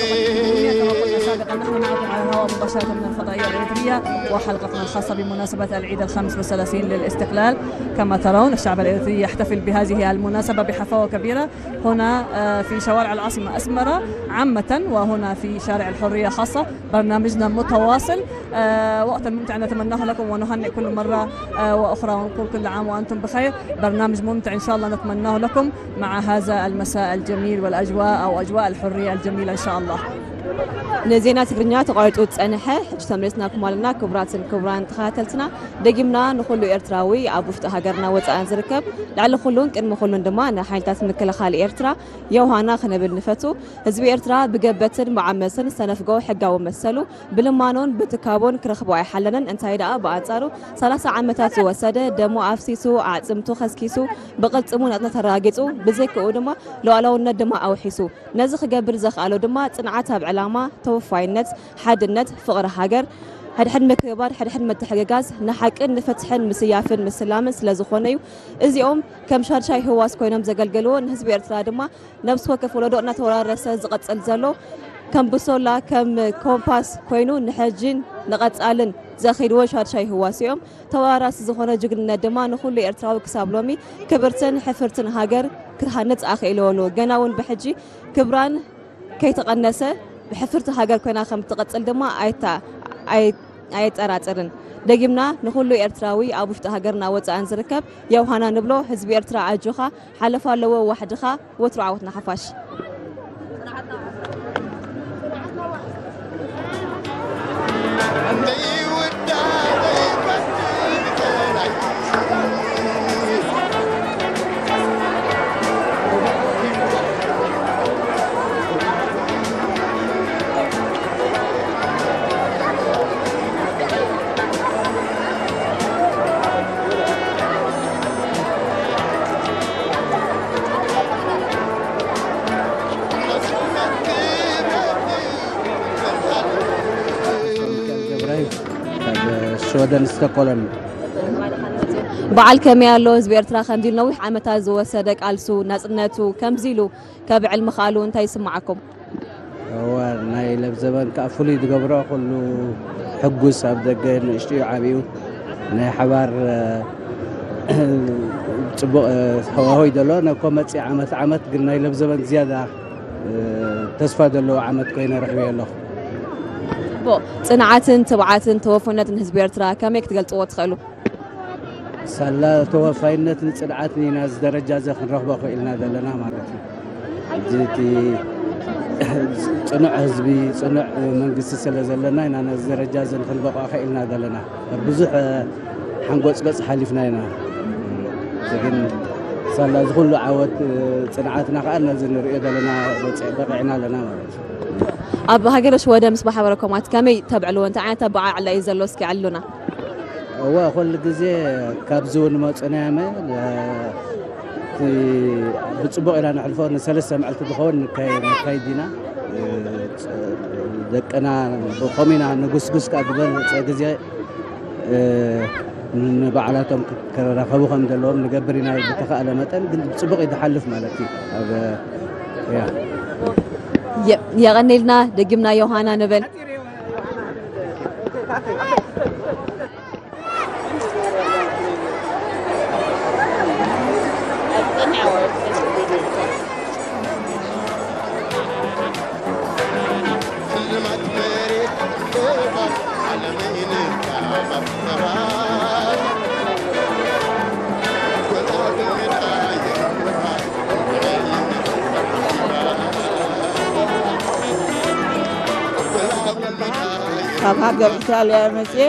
كما قلنا سابقا، نحن معكم على الهواء مباشرة من الفضائية الإريترية وحلقتنا الخاصة بمناسبة العيد الخامس والثلاثين للاستقلال. كما ترون، الشعب الإريتري يحتفل بهذه المناسبة بحفاوة كبيرة هنا، آه، في شوارع العاصمة أسمرة عامة، وهنا في شارع الحرية خاصة. برنامجنا متواصل، آه، وقتا ممتع نتمناه لكم، ونهنئ كل مرة، آه، وأخرى، ونقول كل عام وأنتم بخير. برنامج ممتع إن شاء الله نتمناه لكم مع هذا المساء الجميل والأجواء، أو أجواء الحرية الجميلة إن شاء الله. ንዜና ትግርኛ ተቋሪጹ ዝጸንሐ፣ ሕጂ ተመሊስናኩም ኣለና። ክቡራትን ክቡራን ተኸታተልትና፣ ደጊምና ንኹሉ ኤርትራዊ ኣብ ውሽጢ ሃገርና ወጻእን ዝርከብ፣ ልዕሊ ኩሉን ቅድሚ ኩሉን ድማ ንሓይልታት ምክልኻል ኤርትራ የውሃና ክንብል ንፈቱ። ህዝቢ ኤርትራ ብገበትን ብዓመጽን ዝተነፍጎ ሕጋዊ መሰሉ ብልማኖን ብትካቦን ክረኽቦ ኣይሓለነን። እንታይ ደኣ ብኣንጻሩ ሰላሳ ዓመታት ዝወሰደ፣ ደሙ ኣፍሲሱ፣ ኣዕጽምቱ ከስኪሱ፣ ብቕልጽሙ ናጽነት ኣረጋጊጹ፣ ብዘይክኡ ድማ ሉዓላውነት ድማ ኣውሒሱ። ነዚ ክገብር ዘኽኣሎ ድማ ጽንዓት ኣብ ዕላማ፣ ተወፋይነት፣ ሓድነት፣ ፍቕሪ ሃገር፣ ሕድሕድ ምክብባር፣ ሕድሕድ ምትሕግጋዝ፣ ንሓቅን ንፍትሕን ምስያፍን ምስላምን ስለ ዝኾነ እዩ። እዚኦም ከም ሻድሻይ ህዋስ ኮይኖም ዘገልገልዎ፣ ንህዝቢ ኤርትራ ድማ ነብሲ ወከፍ ወለዶ እናተወራረሰ ዝቐጽል ዘሎ፣ ከም ብሶላ፣ ከም ኮምፓስ ኮይኑ ንሕጂን ንቐጻልን ዘኺድዎ ሻድሻይ ህዋስ እዮም። ተወራራሲ ዝኾነ ጅግንነት ድማ ንኹሉ ኤርትራዊ ክሳብ ሎሚ ክብርትን ሕፍርትን ሃገር ክትሃንጽ ኣኽኢልዎ ኣሎ። ገና እውን ብሕጂ ክብራን ከይተቐነሰ ብሕፍርቲ ሃገር ኮይና ከም ትቐጽል ድማ ኣይታ-፣ ኣይ-፣ ኣየጠራጥርን። ደጊምና ንኹሉ ኤርትራዊ ኣብ ውሽጢ ሃገርና ወጻእን ዝርከብ የውሃና ንብሎ። ህዝቢ ኤርትራ ኣጆኻ፣ ሓለፋ ኣለዎ ዋሕድኻ፣ ወትሩ ዓወት ንሓፋሽ። ገብራይ ካብ ሽወደን ስቶኮልም። በዓል ከመይ ኣሎ? ህዝቢ ኤርትራ ከምዚ ኢሉ ነዊሕ ዓመታት ዝወሰደ ቃልሱ ናጽነቱ ከምዚ ኢሉ ከብዕል ምኽኣሉ እንታይ ይስምዓኩም? እወ፣ ናይ ለብዘበን ከኣ ፍሉይ ዝገብሮ፣ ኩሉ ሕጉስ፣ ኣብ ደገ ንእሽትኡ ዓብዩ ናይ ሓባር፣ እ፣ ጽቡቕ፣ እ፣ ሃዋህው ዘሎ። ነኮ መጺእ ዓመት ዓመት ግን ናይ ለብዘበን ዝያዳ፣ እ፣ ተስፋ ዘለዎ ዓመት ኮይነ ረኺበዮ ኣለኹ። ጽቡቕ። ጽንዓትን ትብዓትን ተወፍነትን ህዝቢ ኤርትራ ከመይ ክትገልጽዎ ትኽእሉ? ሳላ ተወፋይነትን ጽንዓትን ኢና እዚ ደረጃ እዚ ክንረኽቦ ክኢልና ዘለና ማለት እዩ። ሕጂ እቲ ጽኑዕ ህዝቢ፣ ጽኑዕ መንግስቲ ስለ ዘለና ኢና ነዚ ደረጃ እዚ ክንበቕዖ ክኢልና ዘለና። ብዙሕ ሓንጎጽጎጽ ሓሊፍና ኢና። እዚ ግን ሳላ እዚ ኩሉ ዓወት ጽንዓትና ከኣ ነዚ ንርእዮ ዘለና በጽ-፣ በቒዕና ኣለና ማለት እዩ። ኣብ ሃገረ ሽወደን ምስ ማሕበረኮማት ከመይ ተብዕልዎ? እንታይ ዓይነት ኣበዓዕላ እዩ ዘሎ? እስኪ ኣዕልሉና። እወ፣ ኩሉ ግዜ ካብዚ እውን መጹና ያመ፣ እ፣ እቲ ብጽቡቕ ኢና ነሕልፎ። ንሰለስተ መዓልቲ ዝኸውን ንካይ-፣ ንካይድ ኢና። እ፣ ደቅና ብኸም ኢና ንጉስጉስ ከኣ ዝበለጸ ግዜ፣ እ፣ ንባዕላቶም ክረኸቡ ከም ዘለዎም ንገብር ኢና ብተኻእለ መጠን። ግን ብጽቡቕ እዩ ዝሓልፍ ማለት እዩ። ኣብ፣ ያ። የ-፣ የቐኔልና፣ ደጊምና ዮሃና ንበል። ካብ ሃገር ኢጣልያ መጽየ፣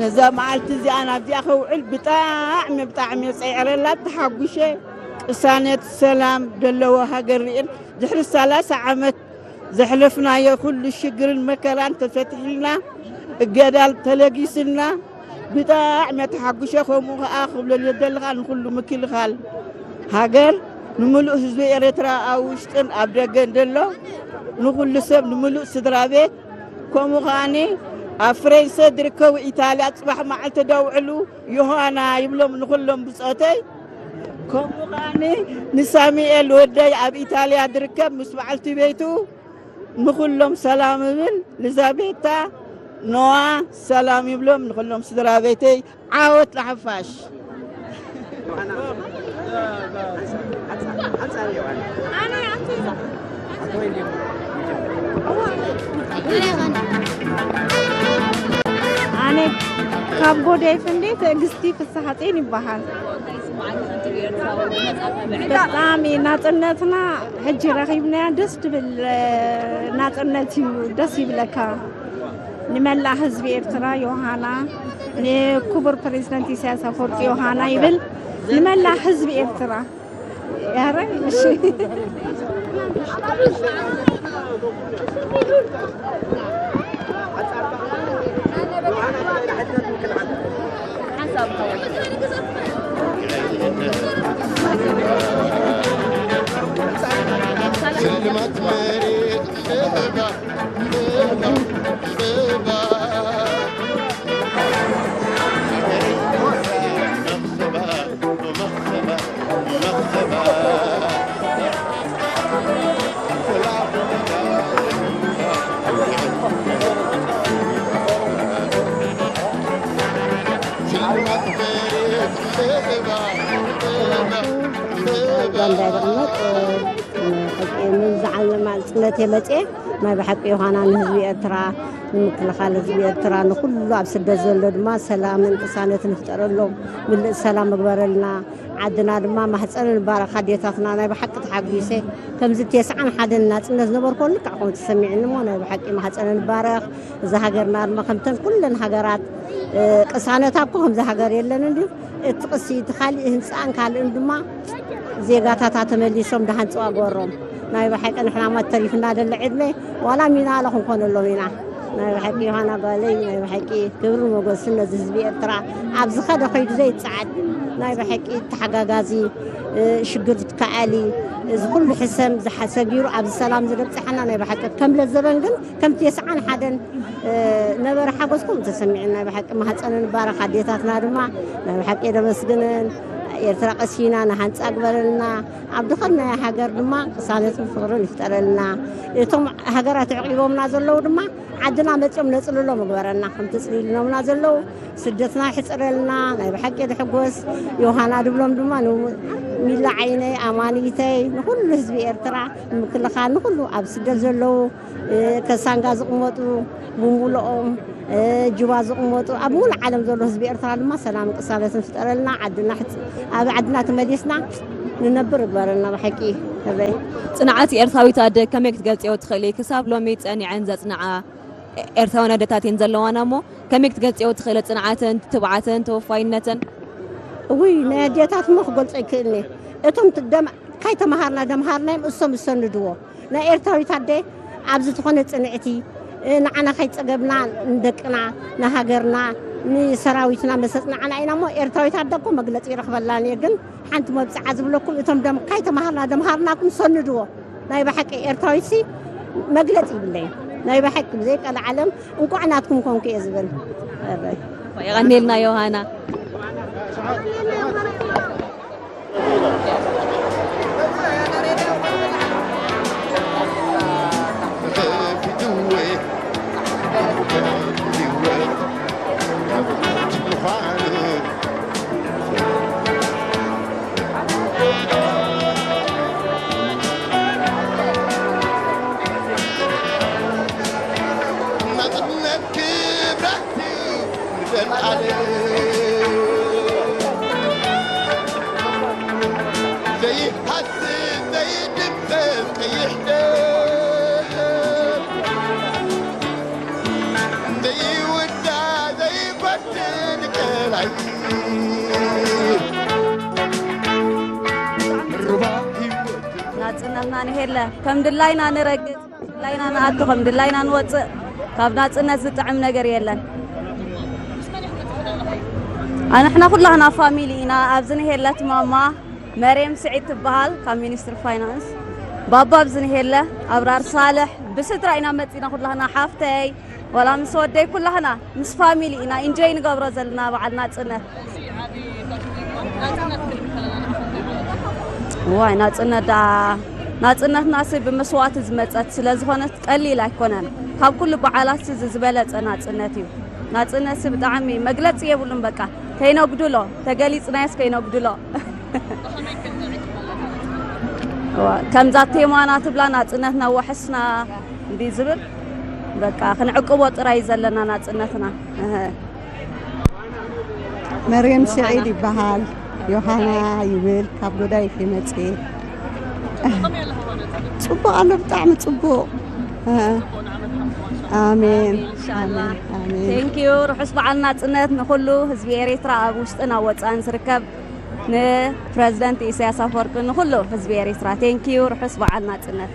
ነዛ መዓልቲ እዚኣ ናብዚኣ ከውዕል ብጣዕሚ፣ ብጣዕሚ እየ ጸይዕረላ፣ ተሓጉሸ። ቅሳነት፣ ሰላም ዘለዎ ሃገር ርእን ድሕሪ ሰላሳ ዓመት ዘሕለፍናዮ ኩሉ ሽግርን መከራን ተፈትሒልና፣ እገዳል ተለጊስልና፣ ብጣዕሚ ተሓጉሸ። ከምኡ ኸዓ ክብለሉ የደሊ ኸዓ ንኹሉ ምክልኻል ሃገር፣ ንምሉእ ህዝቢ ኤርትራ ኣብ ውሽጥን ኣብ ደገን ዘሎ፣ ንኹሉ ሰብ፣ ንምሉእ ስድራ ቤት፣ ከምኡ ኸዓኒ ኣብ ፍሬንሰ ዝርከቡ ኢጣልያ ጽባሕ መዓልቲ ደውዕሉ ዮሃና ይብሎም ንኹሎም ብጾተይ። ከምኡ ኸዓኒ ንሳሙኤል ወደይ ኣብ ኢጣልያ ዝርከብ ምስ በዓልቲ ቤቱ፣ ንኹሎም ሰላም እብል። ልዛቤታ፣ ኖዋ፣ ሰላም ይብሎም ንኹሎም ስድራ ቤተይ። ዓወት ለሓፋሽ። ኣነ ካብ ጎደይ ፍንዴ ትዕግስቲ ፍስሓጼን ይበሃል። ብጣዕሚ ናጽነትና ሕጂ ረኺብናያ ደስ ትብል ናጽነት እዩ። ደስ ይብለካ። ንመላእ ህዝቢ ኤርትራ ዮሃና፣ ንክቡር ፕሬዝዳንት ኢሳያስ ኣፈወርቂ ዮሃና ይብል። ንመላእ ህዝቢ ኤርትራ። ያረ፣ እሺ። ሽልማት መሬት እባ፣ እባ፣ እባ። ጋንዳ ይቕመጥ። ንዝዓለማ ጽነት የመጽኤ። ናይ ብሓቂ ዮሃና ንህዝቢ ኤርትራ፣ ንምክልኻል ህዝቢ ኤርትራ፣ ንኹሉ ኣብ ስደት ዘሎ ድማ ሰላምን ቅሳነትን ይፍጠረሎም። ምልእ ሰላም ምግበረልና። ዓድና ድማ ማሕፀንን ባረኽ ኣዴታትና። ናይ ብሓቂ ተሓጒሰ። ከምዚ ተስዓን ሓደን ናፅነት ዝነበርኮ ልክዕ ከምኡ ተሰሚዕኒ እሞ ናይ ብሓቂ ማሕፀንን ባረኽ። እዛ ሃገርና ድማ ከምተን ኩለን ሃገራት፣ እ፣ ቅሳነታ እኮ ከምዚ ሃገር የለን እንድዩ። እቲ ቅሲ፣ እቲ ካሊእ ህንፃን ካልእን ድማ ዜጋታታ ተመሊሶም ደሃንፅዋ ገበሮም። ናይ ብሓቂ ንሕና ማ ተሪፍና ደለ ዕድመ ዋላ ሚና ኣለ ክንኮነሎም ኢና። ናይ ብሓቂ ዮሃና ጓለይ፣ ናይ ብሓቂ ክብሪ ሞገስን ነዚ ህዝቢ ኤርትራ ኣብ ዝኸደ ከይዱ ዘይጸዓድ፣ ናይ ብሓቂ ተሓጋጋዚ፣ እ፣ ሽግር ዝከኣሊ፣ እዚ ኩሉ ሕሰም ዝሓ-፣ ሰጊሩ ኣብዚ ሰላም ዝበጽሓና ናይ ብሓቂ ከም ለዘበን ግን ከም ተስዓን ሓደን እ፣ ነበረ ሓጎስኩም ተሰሚዕና። ናይ ብሓቂ ማህፀንን ባረኽ ኣዴታትና ድማ ናይ ብሓቂ የደመስግነን። ኤርትራ ቀሲና ንሃንፃ ግበረልና። ኣብ ድኸናያ ሃገር ድማ ቅሳነትን ፍቕርን ይፍጠረልና። እቶም ሃገራት ኣዕቂቦምና ዘለዉ ድማ ዓድና መፂኦም ነፅልሎም ይግበረና። ከምቲ ፅሊልኖምና ዘለዉ ስደትና ይሕፅረልና። ናይ ብሓቂ ድሕጎስ ዮሃና ድብሎም ድማ ን-፣ ሚላ ዓይነይ፣ ኣማኒተይ፣ ንኹሉ ህዝቢ ኤርትራ ንምክልኻል፣ ንኹሉ ኣብ ስደት ዘለዉ እ፣ ከሳንጋ ዝቕመጡ ብምሉኦም፣ እ፣ ጁባ ዝቕመጡ ኣብ ሙሉእ ዓለም ዘሎ ህዝቢ ኤርትራ ድማ ሰላምን ቅሳነትን ፍጠረልና። ዓድና ሕጽ-፣ ኣብ ዓድና ተመሊስና ንነብር ይግበረልና ብሓቂ። እበይ። ጽንዓት ኤርትራዊት ኣደ ከመይ ክትገልጽዮ ትኽእሊ? ክሳብ ሎሚ ጸኒዐን ዘጽንዓ ኤርትራውያን ኣደታት እየን ዘለዋና እሞ ከመይ ክትገልጽዮ ትኽእሊ ጽንዓተን፣ ትብዓተን፣ ተወፋይነተን? እውይ፣ ናይ ኣዴታት እሞ ክገልጾ ይክእልኒ። እቶም ት-፣ ደም-፣ ካይተማሃርና ደምሃርናዮም እሶም ዝሰንድዎ። ናይ ኤርትራዊት ኣደ ኣብ ዝኾነ ጽንዕቲ፣ እ፣ ንዓና ካይጸገብና ንደቅና፣ ንሃገርና፣ ንሰራዊትና መሰጽ ንዓና ኢና እሞ ኤርትራዊት ኣደ እኮ መግለጺ ይረኽበላን እየ። ግን ሓንቲ መብጽዓ ዝብለኩም እቶም ደም-፣ ካይተማሃርና ደምሃርናኩም ሰንድዎ። ናይ ብሓቂ ኤርትራዊትሲ መግለጺ ይብለይ። ናይ ብሓቂ ብዘይ ቀልዓለም እንቋዕ ናትኩም ኮንኩ እየ ዝብል። እረ። የቐንየልና ዮሃና። ናጽነት ክብራት እዩ ንዘለኣለም። ዘይሃስስ ዘይድምሰስ ቀይሕ ደም፣ ዘይውዳእ ዘይፈትን ቀላይ ሩባ ህይወት። ናጽነትና ንሄለ ከም ድላይና ንረግጽ፣ ድላይና ንኣቱ፣ ከም ድላይና ንወጽእ። ካብ ናጽነት ዝጥዕም ነገር የለን። ኣንሕና ኩላህና ፋሚሊ ኢና። ኣብዚ ንሄለት ማማ መርየም ስዒድ ትበሃል ካብ ሚኒስትሪ ፋይናንስ። ባባ ኣብዚ ንሄለ ኣብራር ሳልሕ ብስድራ ኢና መጺና ኩላህና፣ ሓፍተይ ዋላ ምስ ወደይ ኩላህና ምስ ፋሚሊ ኢና ኢንጆይ ንገብሮ ዘለና በዓል ናጽነት። ዋይ ናጽነት ደኣ ናጽነትና ሲ ብመስዋእቲ ዝመጸት ስለ ዝኾነት ቀሊል ኣይኮነን። ካብ ኩሉ በዓላት እዚ ዝበለጸ ናጽነት እዩ። ናጽነት ሲ ብጣዕሚ መግለጺ የብሉን። በቃ ከይነጉድሎ፣ ተገሊጽናዮስ ከይነጉድሎ። እዋ፣ ከምዛ ቴማና ትብላ ናጽነትና ወሕስና እንዲ ዝብል በቃ ክንዕቅቦ ጥራይ ዘለና ናጽነትና። እህ። መርየም ስዒድ ይበሃል። ዮሃና ይብል። ካብ ጎዳይፍ ይመጽእ። ጽቡቕ ኣሎ፣ ብጣዕሚ ጽቡቕ። ኣሜን። ኢንሻኣላ። ኣሜን። Thank you። ርሑስ በዓል ናጽነት ንኹሉ ህዝቢ ኤርትራ ኣብ ውሽጥን ኣብ ወጻእን ዝርከብ ንፕረዚደንት ኢሳያስ ኣፈወርቂ ንኹሉ ህዝቢ ኤርትራ። Thank you። ርሑስ በዓል ናጽነት።